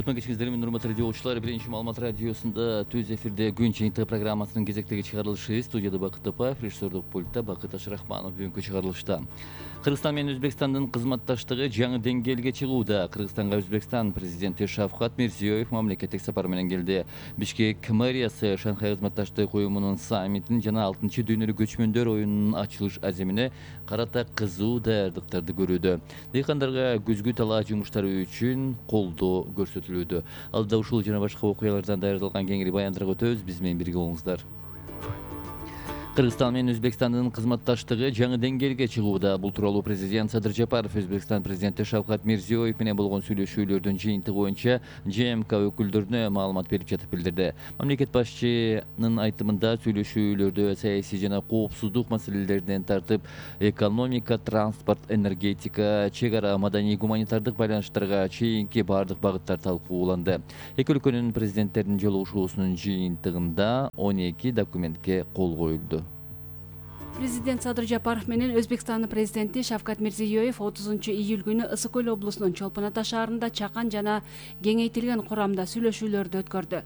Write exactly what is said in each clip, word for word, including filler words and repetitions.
Кутман кечиңиздер менен урматтуу радиочулар, биринчи Маалымат радиосунда түз эфирде күн жыйынтыгы программасынын кезектеги чыгарылышы. Студияда Бакыт Топаев, режиссердук пультта Бакыт Ашрахманов. Бүгүнкү чыгарылышта Кыргызстан менен Өзбекстандын кызматташтыгы жаңы деңгээлге чыгууда. Кыргызстанга Өзбекстан президенти Шавкат Мирзиёев мамлекеттик сапар менен келди. Бишкек мэриясы Шанхай кызматташтык уюмунун саммитин жана алтынчы дүйнөлүк көчмөндөр оюнунун ачылыш аземине карата кызуу даярдыктарды көрүүдө. Дыйкандарга күзгү талаа жумуштары үчүн колдоо көрсөтүлүүдө. Алда ушул жана башка окуялардан даярдалган кеңири баяндырып өтөбүз. Биз менен бирге болуңуздар. Кыргызстан менен Өзбекстандын кызматташтыгы жаңы деңгээлге чыгууда. Бул тууралуу президент Садыр Жапаров Өзбекстан президенти Шавкат Мирзиёев менен болгон сүйлөшүүлөрдүн жыйынтыгы боюнча ЖМК өкүлдөрүнө маалымат берип жатып билдирди. Мамлекет башчынын айтымында сүйлөшүүлөрдө саясий жана коопсуздук маселелеринен тартып, экономика, транспорт, энергетика, чек ара, маданий гуманитардык байланыштарга чейинки бардык багыттар талкууланды. Эки өлкөнүн президенттеринин жолугушуусунун жыйынтыгында он эки документке кол коюлду. Президент Садыр Жапаров менен Өзбекстандын президенти Шавкат Мирзиёев отузунчу июль күнү Ысык көл облусунун Чолпон Ата шаарында чакан жана кеңейтилген курамда сүйлөшүүлөрдү өткөрдү.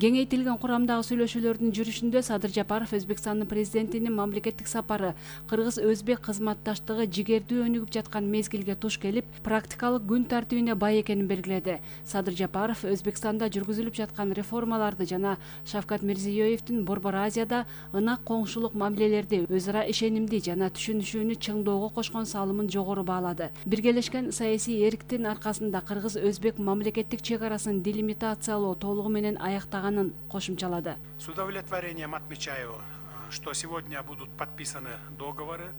Кеңейтилген курамдагы сүйлөшүүлөрдүн жүрүшүндө Садыр Жапаров Өзбекстандын президентинин мамлекеттик сапары кыргыз-өзбек кызматташтыгы жигердүү өнүгүп жаткан мезгилге туш келип, практикалык күн тартибине бай экенин белгиледи. Садыр Жапаров Өзбекстанда жүргүзүлүп жаткан реформаларды жана Шавкат Мирзиёевдин Борбор Азияда ынак коңшулук мамилелерди өзара ишенимди жана түшүнүшүүнү чыңдоого кошкон салымын жогору баалады. Биргелешкен саясий эриктин аркасында кыргыз-өзбек мамлекеттик чек арасын делимитациялоо толугу менен аяктаганын кошумчалады. С удовлетворением отмечаю, что сегодня будут подписаны договоры.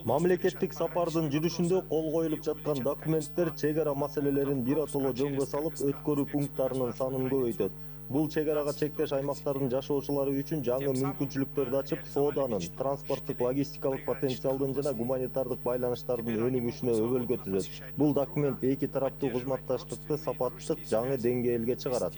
Мамлекеттик сапардын жүрүшүндө кол коюлуп жаткан документтер чек ара маселелерин биротоло жөнгө салып, өткөрүү пункттарынын санын көбөйтөт. Бул чек арага чектеш аймактардын жашоочулары үчүн жаңы мүмкүнчүлүктөрдү ачып, сооданын, транспорттук, логистикалык потенциалдын жана гуманитардык байланыштардын өнүгүшүнө өбөлгө түзөт. Бул документ эки тараптуу кызматташтыкты сапаттык жаңы деңгээлге чыгарат.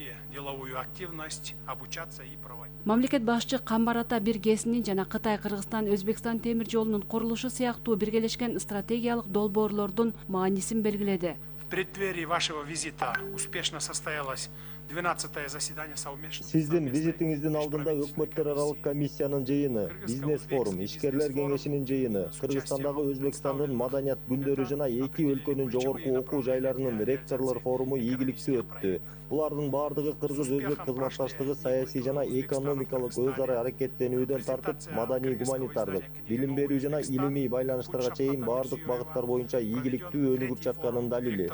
Мамлекет башчы Камбар Ата бир ГЭСинин жана Кытай-Кыргызстан-Өзбекстан темир жолунун курулушу сыяктуу биргелешкен стратегиялык долбоорлордун маанисин белгиледи. В преддверии вашего визита успешно состоялось двенадцатое заседание совместного. Сиздин визитиңиздин алдында өкмөттөр аралык комиссиянын жыйыны, бизнес форум, ишкерлер кеңешинин жыйыны, Кыргызстандагы Өзбекстандын маданият күндөрү жана эки өлкөнүн жогорку окуу жайларынын ректорлор форуму ийгиликтүү өттү. Булардын бардыгы кыргыз-өзбек кызматташтыгы саясий жана экономикалык өз ара аракеттенүүдөн тартып, маданий гуманитардык, билим берүү жана илимий байланыштарга чейин бардык багыттар боюнча ийгиликтүү өнүгүп жатканын далили.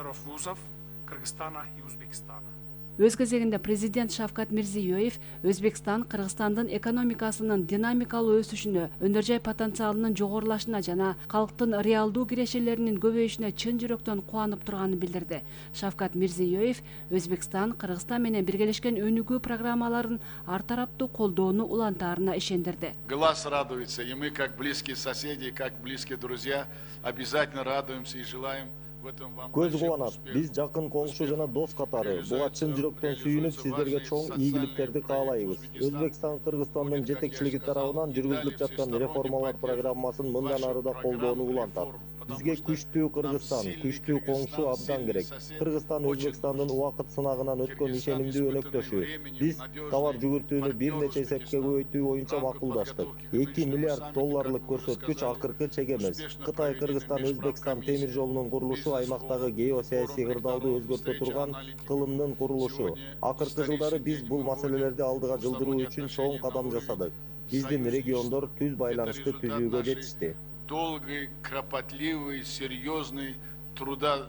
Өз кезегинде президент Шавкат Мирзиёев Өзбекстан Кыргызстандын экономикасынын динамикалуу өсүшүнө, өнөр жай потенциалынын жогорулашына жана калктын реалдуу кирешелеринин көбөйүшүнө чын жүрөктөн кубанып турганын билдирди. Шавкат Мирзиёев Өзбекстан Кыргызстан менен биргелешкен өнүгүү программаларын ар тараптуу колдоону улантаарына ишендирди. Глаз радуется, и мы, как близкие соседи, как близкие друзья, обязательно радуемся и желаем. Көз кубанат, биз жакын коңшу жана дос катары буга чын жүрөктөн сүйүнүп, сиздерге чоң ийгиликтерди каалайбыз. Өзбекстан Кыргызстандын жетекчилиги тарабынан жүргүзүлүп жаткан реформалар программасын мындан ары да колдоону улантат. Бизге күчтүү Кыргызстан, күчтүү коңшу абдан керек. Кыргызстан Өзбекстандын убакыт сынагынан өткөн ишенимдүү өнөктөшү. Биз товар жүгүртүүнү бир нече эсепке көбөйтүү боюнча макулдаштык. эки миллиард долларлык көрсөткүч акыркы чек эмес. Кытай Кыргызстан Өзбекстан темир жолунун курулушу аймактагы геосаясий кырдаалды өзгөртө турган кылымдын курулушу. Акыркы жылдары биз бул маселелерди алдыга жылдыруу үчүн чоң кадам жасадык. Биздин региондор түз байланышты түзүүгө жетишти. Долгий, кропотливый, серьезный труда,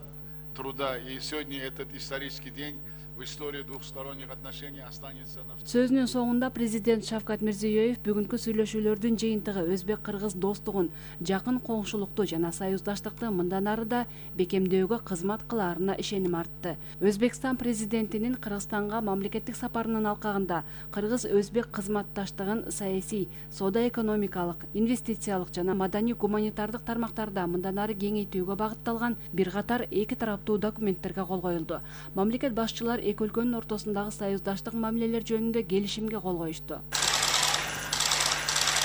труда. И сегодня этот исторический день в истории двухсторонних отношений останется на... Сөзүнүн соңунда президент Шавкат Мирзиёев бүгүнкү сүйлөшүүлөрдүн жыйынтыгы өзбек-кыргыз достугун, жакын коңшулукту жана союздаштыкты мындан ары да бекемдөөгө кызмат кылаарына ишеним артты. Өзбекстан президентинин Кыргызстанга мамлекеттик сапарынын алкагында кыргыз-өзбек кызматташтыгын саясий, соода-экономикалык, инвестициялык жана маданий-гуманитардык тармактарда мындан ары кеңейтүүгө багытталган бир катар эки тараптуу документтерге кол коюлду. Мамлекет башчылар эки өлкөнүн ортосундагы союздаштык мамилелер жөнүндө келишимге кол коюшту.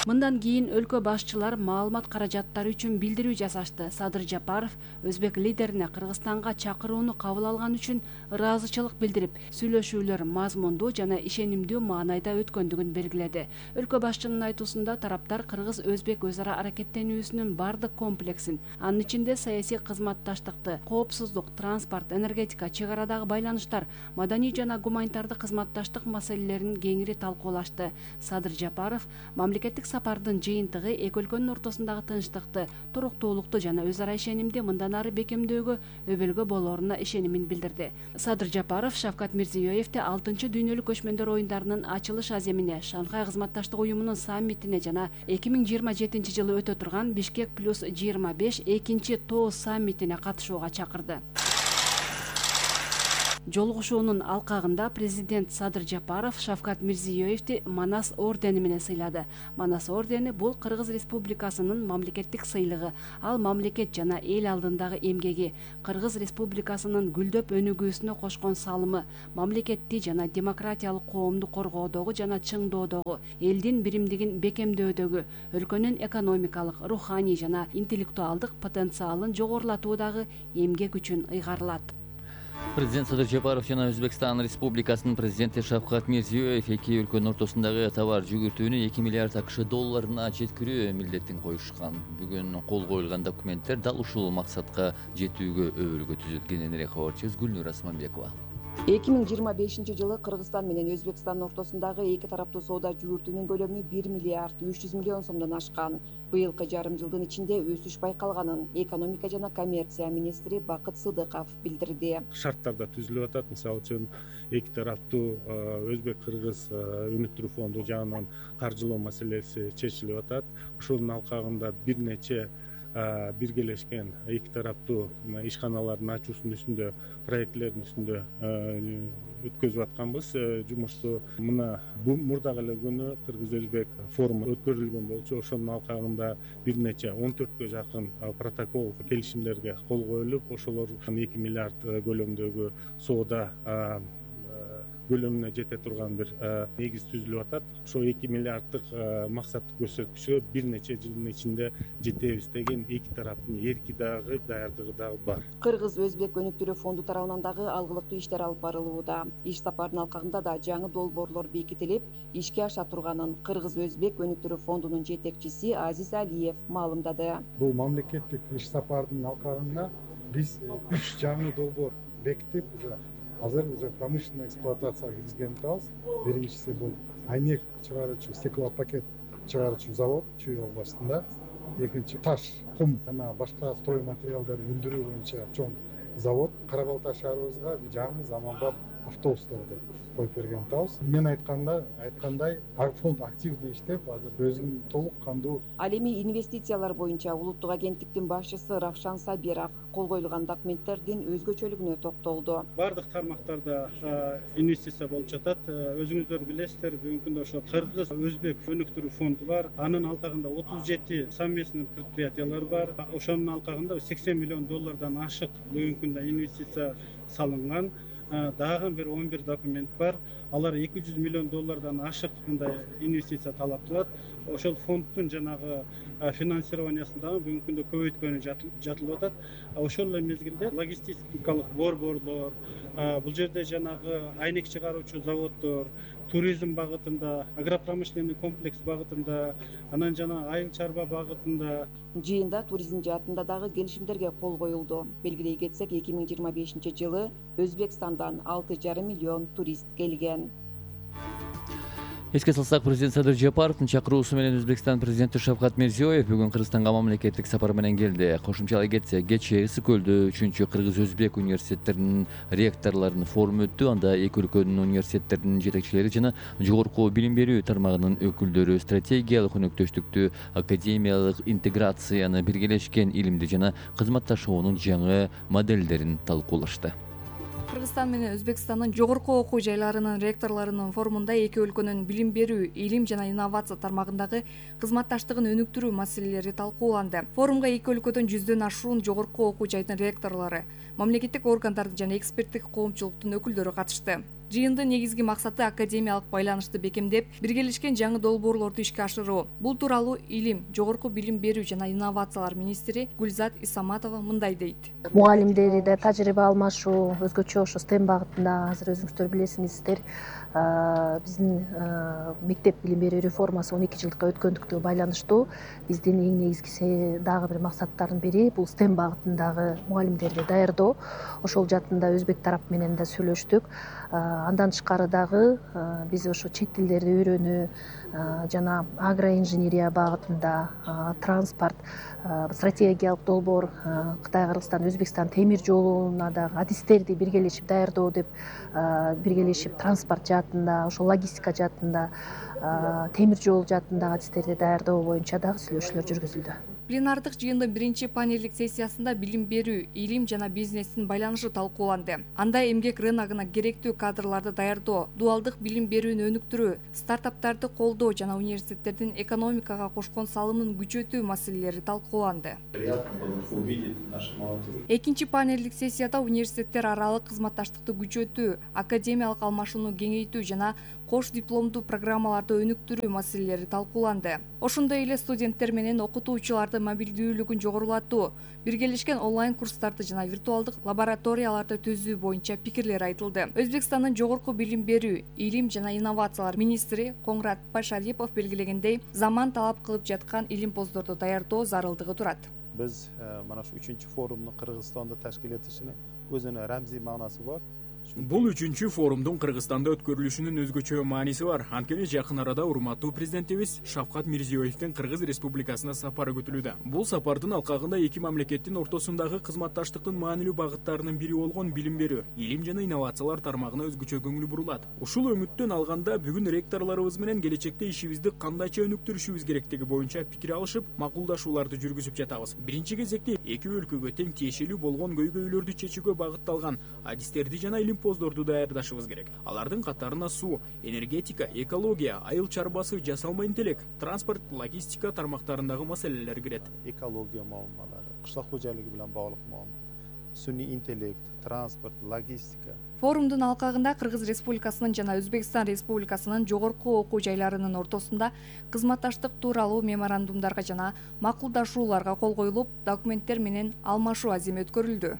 Мындан кийин өлкө башчылар маалымат каражаттары үчүн билдирүү жасашты. Садыр Жапаров өзбек лидерине Кыргызстанга чакырууну кабыл алган үчүн ыраазычылык билдирип, сүйлөшүүлөр мазмундуу жана ишенимдүү маанайда өткөндүгүн белгиледи. Өлкө башчынын айтуусунда тараптар кыргыз-өзбек өз ара аракеттенүүсүнүн бардык комплексин, анын ичинде саясий кызматташтыкты, коопсуздук, транспорт, энергетика, чек арадагы байланыштар, маданий жана гуманитардык кызматташтык маселелерин кеңири талкуулашты. Садыр Жапаров мамлекеттик сапардын жыйынтыгы эки өлкөнүн ортосундагы тынчтыкты, туруктуулукту жана өз ара ишенимди мындан ары бекемдөөгө өбөлгө болоруна ишенимин билдирди. Садыр Жапаров Шавкат Мирзиёевди алтынчы дүйнөлүк көчмөндөр оюндарынын ачылыш аземине, Шанхай кызматташтык уюмунун саммитине жана эки миң жыйырма жетинчи жылы өтө турган Бишкек плюс жыйырма беш экинчи тоо саммитине катышууга чакырды. Жолугушуунун алкагында президент Садыр Жапаров Шавкат Мирзиёевди Манас ордени менен сыйлады. Манас ордени бул Кыргыз Республикасынын мамлекеттик сыйлыгы. Ал мамлекет жана эл алдындагы эмгеги, Кыргыз Республикасынын гүлдөп өнүгүүсүнө кошкон салымы, мамлекетти жана демократиялык коомду коргоодогу жана чыңдоодогу, элдин биримдигин бекемдөөдөгү, өлкөнүн экономикалык, руханий жана интеллектуалдык потенциалын жогорулатуудагы эмгек үчүн ыйгарылат. Президент Садыр Жапаров жана Өзбекстан Республикасынын президенти Шавкат Мирзиёев эки өлкөнүн ортосундагы товар жүгүртүүнү эки миллиард акш долларына жеткирүү милдетин коюшкан. Бүгүн кол коюлган документтер дал ушул максатка жетүүгө өбөлгө түзүлгөн. Энерия кабарчыбыз Гүлнур Асманбекова. эки миң жыйырма бешинчи жылы Кыргызстан менен Өзбекстандын ортосундагы эки тараптуу соода жүгүртүүнүн көлөмү бир миллиард үч жүз миллион сомдон ашкан. Быйылкы жарым жылдын ичинде өсүш байкалганын экономика жана коммерция министри Бакыт Сыдыков билдирди. Шарттарда түзүлүп атат. Мисалы үчүн эки тараптуу Өзбек-Кыргыз өнүктүрүү фонду жагынан каржылоо маселеси чечилип атат. Ошонун алкагында бир нече биргелешкен эки тараптуу ишканалардын ачуусунун үстүндө, проектлердин үстүндө өткөзүп атканбыз жумушту. Мына мурдагы эле күнү Кыргыз-Өзбек форуму өткөрүлгөн болчу. Ошонун алкагында бир нече он төрткө жакын протокол, келишимдерге кол коюлуп, ошолор эки миллиард көлөмүндөгү соода көлөмүнө жете турган бир негиз түзүлүп атат. Ошо эки миллиарддык максаттык көрсөткүчкө бир нече жылдын ичинде жетебиз деген эки тараптын эрки дагы, даярдыгы дагы бар. Кыргыз-Өзбек өнүктүрүү фонду тарабынан дагы алгылыктуу иштер алып барылууда. Иш сапардын алкагында да жаңы долбоорлор бекитилип, ишке аша турганын Кыргыз-Өзбек өнүктүрүү фондунун жетекчиси Азиз Алиев маалымдады. Бул мамлекеттик иш сапардын алкагында биз үч жаңы долбоор бекитип, уже азыр уже промышленный эксплуатацияга киргизген атабыз. Биринчиси бул айнек чыгаруучу, стеклопакет чыгаруучу завод Чүй областында. Экинчи таш, кум жана башка строй материалдарды өндүрүү боюнча чоң завод. Кара Балта шаарыбызга жаңы заманбап автобустарды коюп берген атабыз. Мен айтканда, айткандай, фонд активдүү иштеп, азыр өзүнүн толук кандуу. Ал эми инвестициялар боюнча улуттук агенттиктин башчысы Равшан Сабиров кол коюлган документтердин өзгөчөлүгүнө токтолду. Бардык тармактарда инвестиция болуп жатат. Өзүңүздөр билесиздер, бүгүнкү күндө ошо Кыргыз-Өзбек өнүктүрүү фонду бар. Анын алкагында отуз жети совместный предприятиялар бар. Ошонун алкагында сексен миллион доллардан ашык бүгүнкү күндө инвестиция салынган. Дагы бир он бир документ бар. Алар эки жүз миллион доллардан ашык мындай инвестиция талап кылат. Ошол фонддун жанагы финансированиясын дагы бүгүнкү күндө көбөйткөнү жатылып атат. Ошол эле мезгилде логистикалык борборлор, бул жерде жанагы айнек чыгаруучу заводдор, туризм багытында, агропромышленный комплекс багытында, анан жана айыл чарба багытында. Жыйында туризм жаатында дагы келишимдерге кол коюлду. Белгилей кетсек, эки миң жыйырма бешинчи жылы Өзбекстандан алты жарым миллион турист келген. Эске салсак, президент Садыр Жапаровдун чакыруусу менен Өзбекстан президенти Шавкат Мирзиёев бүгүн Кыргызстанга мамлекеттик сапар менен келди. Кошумчалай кетсек, кечээ Ысык көлдө үчүнчү Кыргыз-Өзбек университеттеринин ректорлорунун форуму өттү. Анда эки өлкөнүн университеттеринин жетекчилери жана жогорку билим берүү тармагынын өкүлдөрү стратегиялык өнөктөштүктү, академиялык интеграцияны, биргелешкен илимди жана кызматташуунун жаңы моделдерин талкуулашты. Кыргызстан менен Өзбекстандын жогорку окуу жайларынын ректорлорунун форумунда эки өлкөнүн билим берүү, илим жана инновация тармагындагы кызматташтыгын өнүктүрүү маселелери талкууланды. Форумга эки өлкөдөн жүздөн ашуун жогорку окуу жайдын ректорлору, мамлекеттик органдардын жана эксперттик коомчулуктун өкүлдөрү катышты. Жыйындын негизги максаты академиялык байланышты бекемдеп, биргелешкен жаңы долбоорлорду ишке ашыруу. Бул тууралуу Илим, жогорку билим берүү жана инновациялар министри Гүлзат Исаматова мындай дейт. Мугалимдерде тажрыйба алмашуу, өзгөчө ошо STEM багытында азыр өзүңүздөр билесиңиздер, биздин мектеп билим берүү реформасы он эки жылдыкка өткөндүктүгү байланыштуу. Биздин эң негизгиси дагы бир максаттардын бири бул STEM багытындагы мугалимдерди даярдоо. Ошол жаатында өзбек тарап менен да сүйлөштүк. Андан тышкары дагы биз ошо чет тилдерди үйрөнүү жана агроинженерия багытында, транспорт, стратегиялык долбоор, Кытай, Кыргызстан, Өзбекстан темир жолуна дагы адистерди биргелешип даярдоо деп, биргелешип транспорт жаатында, ошо логистика жаатында, темир жол жаатындагы адистерди даярдоо боюнча дагы сүйлөшүүлөр жүргүзүлдү. Пленардык жыйындын биринчи панелдик сессиясында билим берүү, илим жана бизнестин байланышы талкууланды. Анда эмгек рыногуна керектүү кадрларды даярдоо, дуалдык билим берүүнү өнүктүрүү, стартаптарды колдоо жана университеттердин экономикага кошкон салымын күчөтүү маселелери талкууланды. Экинчи панелдик сессияда университеттер аралык кызматташтыкты күчөтүү, академиялык алмашууну кеңейтүү жана кош дипломдуу программаларды өнүктүрүү маселелери талкууланды. Ошондой эле студенттер менен окутуучулардын мобилдүүлүгүн жогорулатуу, биргелешкен онлайн курстарды жана виртуалдык лабораторияларды түзүү боюнча пикирлер айтылды. Өзбекстандын жогорку билим берүү, илим жана инновациялар министри Коңрат Байшарипов белгилегендей, заман талап кылып жаткан илимпоздорду даярдоо зарылдыгы турат. Биз mana shu үчүнчү форумду Кыргызстанда ташкил этишинин өзүнүн рамзий маанасы бар. Бул үчүнчү форумдун Кыргызстанда өткөрүлүшүнүн өзгөчө мааниси бар. Анткени жакын арада урматтуу президентибиз Шавкат Мирзиёевдин Кыргыз Республикасына сапары күтүлүүдө. Бул сапардын алкагында эки мамлекеттин ортосундагы кызматташтыктын маанилүү багыттарынын бири болгон билим берүү, илим жана инновациялар тармагына өзгөчө көңүл бурулат. Ушул өмүттөн алганда бүгүн ректорлорубуз менен келечекте ишибизди кандайча өнүктүрүшүбүз керектиги боюнча пикир алышып, макулдашууларды жүргүзүп жатабыз. Биринчи кезекте эки өлкөгө тең тиешелүү болгон көйгөйлөрдү чечүүгө багытталган адистерди жана илимпоздорду даярдашыбыз керек. Алардын катарына суу, энергетика, экология, айыл чарбасы, жасалма интеллект, транспорт, логистика тармактарындагы маселелер кирет. Экология маалымалары, кышлак кожоюлугу менен баглык маалымат, сүний интеллект, транспорт, логистика. Форумдун алкагында Кыргыз Республикасынын жана Өзбекстан Республикасынын жогорку окуу жайларынын ортосунда кызматташтык тууралуу меморандумдарга жана макулдашууларга кол коюлуп, документтер менен алмашуу аземи өткөрүлдү.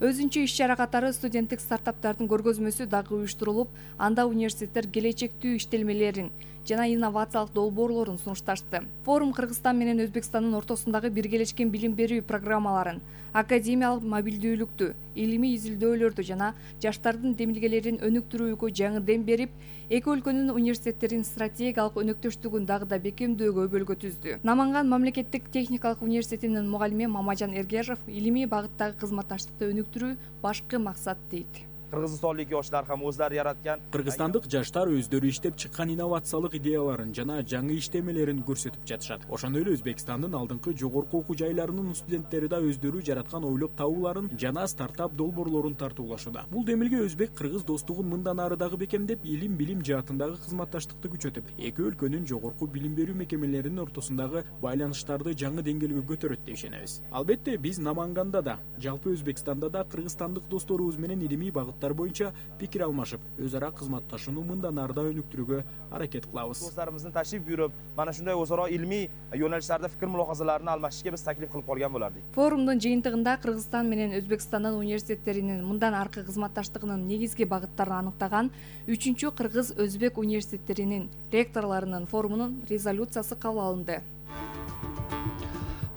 Өзүнчө иш-чара катары студенттик стартаптардын көргөзмөсү дагы уюштурулуп, анда университеттер келечектүү иштелмелерин жана инновациялык долбоорлорун сунушташты. Форум Кыргызстан менен Өзбекстандын ортосундагы биргелешкен билим берүү программаларын, академиялык мобилдүүлүктү, илимий изилдөөлөрдү жана жаштардын демилгелерин өнүктүрүүгө жаңы дем берип, эки өлкөнүн университеттеринин стратегиялык өнөктөштүгүн дагы да бекемдөөгө өбөлгө түздү. Наманган мамлекеттик техникалык университетинин мугалими Мамажан Эргежов илимий багыттагы кызматташтыкты өнүктүрүү башкы максат дейт. Кыргызстандык yoshlar ham o'zlari yaratgan Кыргызстандык жаштар өздөрү иштеп чыккан инновациялык идеяларын жана жаңы иштемелерин көрсөтүп жатышат. Ошондой эле Өзбекстандын алдыңкы жогорку окуу жайларынын студенттери да өздөрү жараткан ойлоп табууларын жана стартап долбоорлорун тартуулашууда. Бул демилге өзбек-кыргыз достугун мындан ары дагы бекемдеп, илим билим жаатындагы кызматташтыкты күчөтүп, эки өлкөнүн жогорку билим берүү мекемелеринин ортосундагы байланыштарды жаңы деңгээлге көтөрөт деп ишенебиз. Албетте биз Наманганда да, жалпы Өзбекстанда да кыргызстандык досторубуз менен илимий багыттар боюнча пикир алмашып, өз ара кызматташууну мындан ары да өнүктүрүүгө аракет кылабыз. Досторубуздун ташриф бuyurup, mana shunday o'zaro ilmiy yo'nalishlarda fikr mulohazalarini almashishga biz taklif qilib qolgan bo'lardik. Форумдун жыйынтыгында Кыргызстан менен Өзбекстандын университеттеринин мындан аркы кызматташтыгынын негизги багыттарын аныктаган үчүнчү Кыргыз-Өзбек университеттеринин ректорлорунун форумунун резолюциясы кабыл алынды.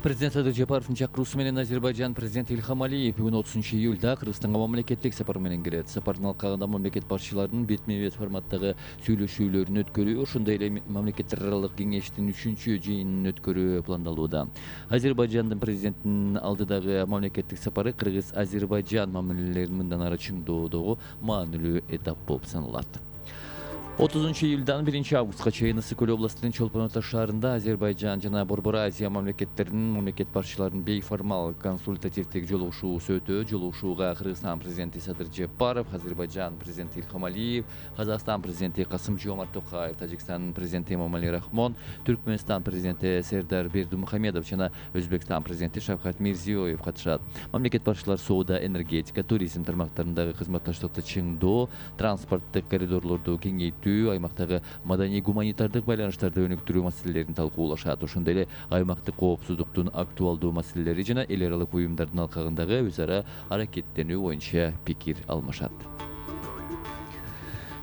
Президент Садыр Жапаровдун чакыруусу менен Азербайжан президенти Илхам Алиев бүгүн отузунчу июлда Кыргызстанга мамлекеттик сапар менен кирет. Сапардын алкагында мамлекет башчыларынын бетме-бет форматтагы сүйлөшүүлөрүн өткөрүү, ошондой эле мамлекеттер аралык кеңештин үчүнчү жыйынын өткөрүү пландалууда. Азербайжандын президентинин алдыдагы мамлекеттик сапары Кыргыз-Азербайжан мамилелерин мындан ары чыңдоодогу маанилүү этап болуп саналат. отузунчу июлдан биринчи августка чейин Ысык Көл областынын Чолпон Ата шаарында Азербайжан жана Борбор Азия мамлекеттеринин мамлекет башчыларынын бейформал консультативдик жолугушуусу өтөө. Жолугушууга Кыргызстан президенти Садыр Жапаров, Азербайжан президенти Илхам Алиев, Казакстан президенти Касым-Жомарт Токаев, Тажикстан президенти Эмомали Рахмон, Түркмөнстан президенти Сердар Бердимухамедов жана Өзбекстан президенти Шавкат Мирзиёев катышат. Мамлекет башчылары соода, энергетика, туризм тармактарындагы кызматташтыкты чыңдоо, транспорттук коридорлорду кеңейтүү, аймактагы маданий гуманитардык байланыштарды өнүктүрүү маселелерин талкуулашат. Ошондой эле аймактык коопсуздуктун актуалдуу маселелери жана эл аралык уюмдардын алкагындагы өз ара аракеттенүү боюнча пикир алмашат.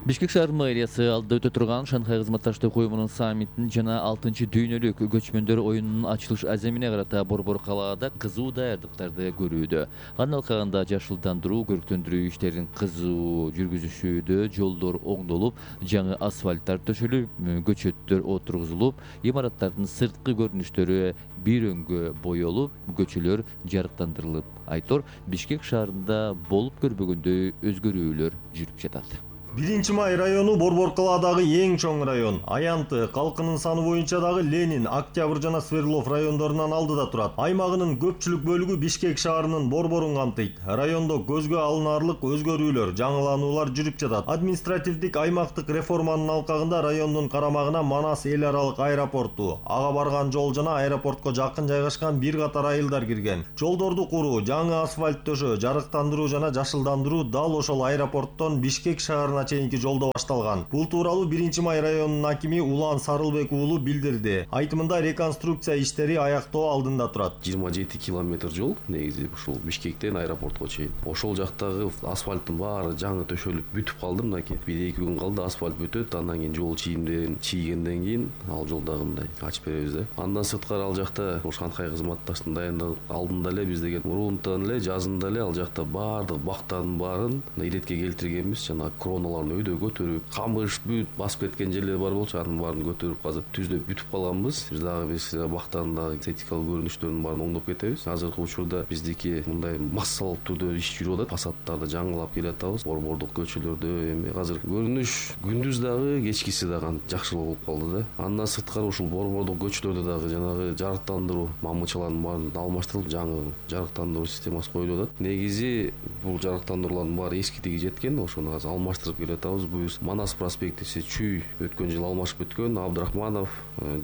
Бишкек шаар мэриясы алдыда өтө турган Шанхай кызматташтык уюмунун саммитин жана алтынчы дүйнөлүк көчмөндөр оюнунун ачылыш аземине карата Борбор калаада кызуу даярдыктарды көрүүдө. Анын алкагында жашылдандыруу, көрктөндүрүү иштерин кызуу жүргүзүшүүдө, жолдор оңдолуп, жаңы асфальттар төшөлүп, көчөттөр отургузулуп, имараттардын сырткы көрүнүштөрү бир өңгө боелуп, көчөлөр жарыктандырылып. Айтор Бишкек шаарында болуп көрбөгөндөй өзгөрүүлөр жүрүп жатат. биринчи май району Борбор калаадагы эң чоң район. Аянты, калкынын саны боюнча дагы Ленин, Октябрь жана Свердлов райондорунан алдыда турат. Аймагынын көпчүлүк бөлүгү Бишкек шаарынын борборун камтыйт. Райондо көзгө алынаарлык өзгөрүүлөр, жаңылануулар жүрүп жатат. Административдик аймактык реформанын алкагында райондун карамагына Манас эл аралык аэропорту, ага барган жол жана аэропортко жакын жайгашкан бир катар айылдар кирген. Жолдорду куруу, жаңы асфальт төшөө, жарыктандыруу жана жашылдандыруу дал ошол аэропорттон Бишкек шаарына чейинки жолдо башталган. Бул тууралуу биринчи май районунун акими Улан Сарылбек уулу билдирди. Айтымында реконструкция иштери аяктоо алдында турат. жыйырма жети километр жол негизи ушул Бишкектен аэропортко чейин. Ошол жактагы асфальттын баары жаңы төшөлүп бүтүп калды. Мынакей бир эки күн калды асфальт бүтөт, андан кийин жол чийимдерин чийгенден кийин ал жолдагы мындай ачып беребиз да. Андан сырткары ал жакта Шанхай кызматташтын дайындык алдында эле биз деген мурунтан эле жазында эле ал жакта баардык бактардын баарын иретке келтиргенбиз. Жана кроналар өйдө көтөрүп, камыш бүт басып кеткен жерлер бар болчу, анын баарын көтөрүп азыр түздөп бүтүп калганбыз. Биз дагы биз бактардын дагы эстетикалык көрүнүштөрүн баарын оңдоп кетебиз. Азыркы учурда биздики мындай массалык түрдө иш жүрүп атат. Фасадтарды жаңылап келатабыз. Борбордук көчөлөрдө эми азыр көрүнүш күндүз дагы, кечкиси дагы жакшылоо болуп калды да. Андан сырткары ушул борбордук көчөлөрдө дагы жанагы жарыктандыруу мамычалардын баарын алмаштырылып, жаңы жарыктандыруу системасы коюлуп атат. Негизи бул жарыктандыруулардын баары эскидиги жеткен, ошону азыр алмаштырып келатабыз. Бул Манас проспектиси чүй өткөн жыл алмашып өткөн, Абдрахманов,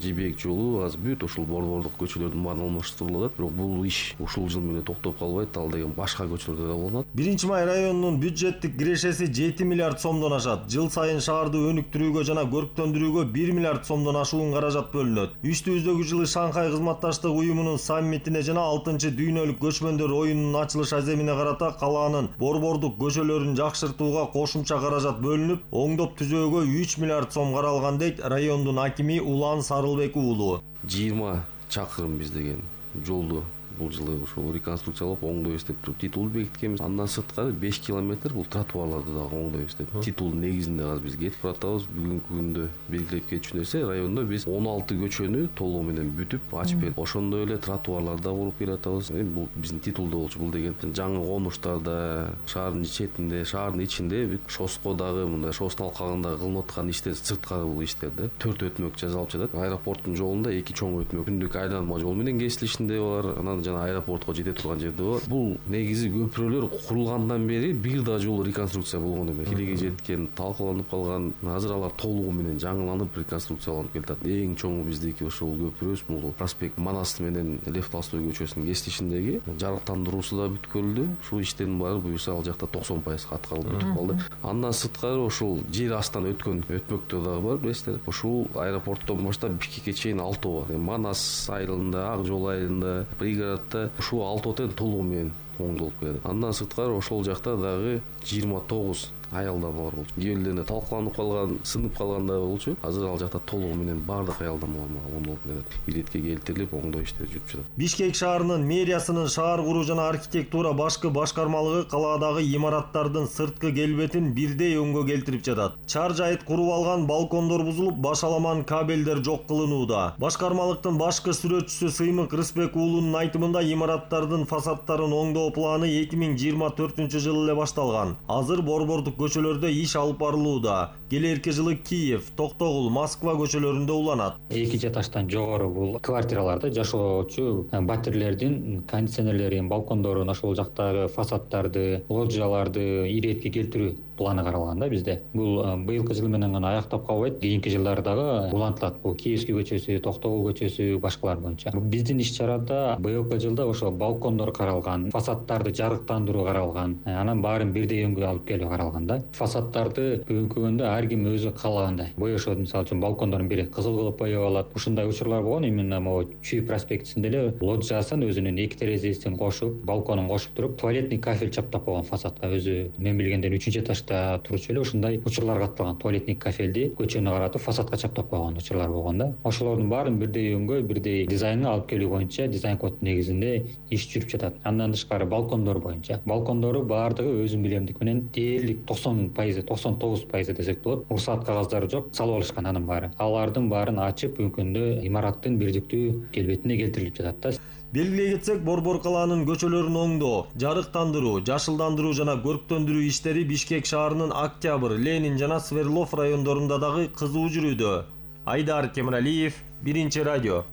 Жибек жолу азыр бүт ушул борбордук көчөлөрдүн баарын алмаштырылып атат. Бирок бул иш ушул жыл менен токтоп калбайт, ал деген башка көчөлөрдө да болот. биринчи май районунун бюджеттик кирешеси жети миллиард сомдон ашат. Жыл сайын шаарды өнүктүрүүгө жана көрктөндүрүүгө бир миллиард сомдон ашуун каражат бөлүнөт. Үстүбүздөгү жылы Шанхай кызматташтык уюмунун саммитине жана алтынчы дүйнөлүк көчмөндөр оюнунун ачылыш аземине карата калаанын борбордук көчөлөрүн жакшыртууга кошумча каражат бөлүнүп, оңдоп түзөөгө үч миллиард сом каралган дейт райондун акими Улан Сарылбек уулу. жыйырма чакырым биз деген жолду бул жылы ошол реконструкциялап оңдойбуз деп туруп титул бекиткенбиз. Андан сырткары беш километр бул тротуарларды дагы оңдойбуз деп. Титулдун негизинде азыр биз кетип баратабыз. Бүгүнкү күндө белгилеп кетчү нерсе райондо биз он алты көчөнү толугу менен бүтүп ачып бердик. Ошондой эле тротуарлар да куруп келатабыз. Эми бул биздин титулда болчу. Бул деген жаңы конуштарда, шаардын четинде, шаардын ичинде шоско дагы мындай шостун алкагында кылынып аткан иштер сырткары бул иштерде төрт өтмөк жасалып жатат. Аэропорттун жолунда эки чоң өтмөк күндүк айланма жол менен кесилишинде бар. Анан жана аэропортко жете турган жерде бар. Бул негизи көпүрөлөр курулгандан бери бир да жол реконструкция болгон эмес. Килеге жеткен, талкаланып калган. Азыр алар толугу менен жаңыланып реконструкцияланып келатат. Эң чоңу биздики ошол көпүрөбүз. Бул проспект Манас менен Лев Толстой көчөсүнүн кесилишиндеги жарыктандыруусу да бүткөрүлдү. Ушул иштердин баары буюрса ал жакта токсон пайызга аткарылып бүтүп калды. Андан сырткары ошол жер астынан өткөн өтмөктөр дагы бар, билесиздер. Ушул аэропорттон баштап Бишкекке чейин алтоо бар. Манас айылында, Ак жол айылында, пригороддо ушул алтоо тең толугу менен оңдолуп келет. Андан сырткары ошол жакта дагы жыйырма тогуз аялдама бар болчу. Кээ бирлеринде талкаланып калган, сынып калган да болчу. Азыр ал жакта толугу менен баардык аялдамалар оңдолуп келет. Иретке келтирилип, оңдоо иштери жүрүп жатат. Бишкек шаарынын мэриясынын шаар куруу жана архитектура башкы башкармалыгы калаадагы имараттардын сырткы келбетин бирдей өңгө келтирип жатат. Чар жайыт куруп алган балкондор бузулуп, башаламан кабелдер жок кылынууда. Башкармалыктын башкы сүрөтчүсү Сыймык Рыспек уулунун айтымында имараттардын фасадтарын оңдоо планы эки миң жыйырма төртүнчү жылы эле башталган. Азыр борбордук көчөлөрдө иш алып барылууда. Келерки жылы Киев, Токтогул, Москва көчөлөрүндө уланат. Эки этаждан жогору бул квартираларда жашоочу батирлердин кондиционерлерин, балкондорун, ошол жактагы фасаддарды, лоджияларды иретке келтирүү планы каралган да бизде. Бул быйылкы жыл менен гана аяктап калбайт, кийинки жылдары дагы улантылат. Бул Киевский көчөсү, Токтогул көчөсү, башкалар боюнча. Биздин иш-чарада быйылкы жылда ошо балкондор каралган, фасаддарды жарыктандыруу каралган, анан баарын бирдей өңгө алып келүү каралган да. Фасаддарды бүгүнкү күндө ар ким өзү каалагандай боешот, мисалы үчүн балкондордун бири кызыл кылып боеп алат. Ушундай учурлар болгон. Именно могу Чүй проспектисинде эле лоджиясын өзүнүн эки терезесин кошуп, балконун кошуп туруп, туалетный кафель чаптап койгон фасадка. Өзү мен билгенден үчүнчү этажда турчу эле ушундай учурлар катталган. Туалетный кафелди көчөнү каратып фасадка чаптап койгон учурлар болгон да. Ошолордун баарын бирдей өңгө, бирдей дизайнга алып келүү боюнча дизайн код негизинде иш жүрүп жатат. Андан тышкары балкондор боюнча. Балкондору баардыгы өзүм билемдик менен дээрлик токсон пайызы, токсон тогуз пайызы десек болот. Уруксаат кагаздары жок, салып алышкан анын баары. Алардын баарын ачып, бүгүнкү күндө имараттын бирдиктүү келбетине келтирилип жатат да. Белгилей кетсек, Борбор калаанын көчөлөрүн оңдоо, жарыктандыруу, жашылдандыруу жана көрктөндүрүү иштери Бишкек шаарынын Октябрь, Ленин жана Сверлов райондорунда дагы кызуу жүрүүдө. Айдар Кемралиев, Биринчи радио.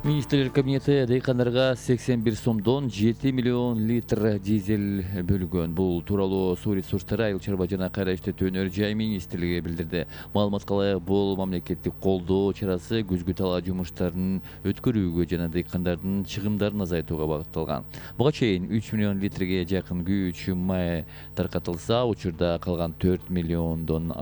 Министрлер кабинети дыйкандарга сексен бир сомдон жети миллион литр дизель бөлгөн. Бул тууралуу Суу ресурстары, Айыл чарба жана кайра иштетүү өнөр жай министрлиги билдирди. Маалыматка ылайык, бул мамлекеттик колдоо чарасы күзгү талаа жумуштарын өткөрүүгө жана дыйкандардын чыгымдарын азайтууга багытталган. Буга чейин үч миллион литрге жакын күйүүчү май таркатылса, учурда калган төрт миллиондон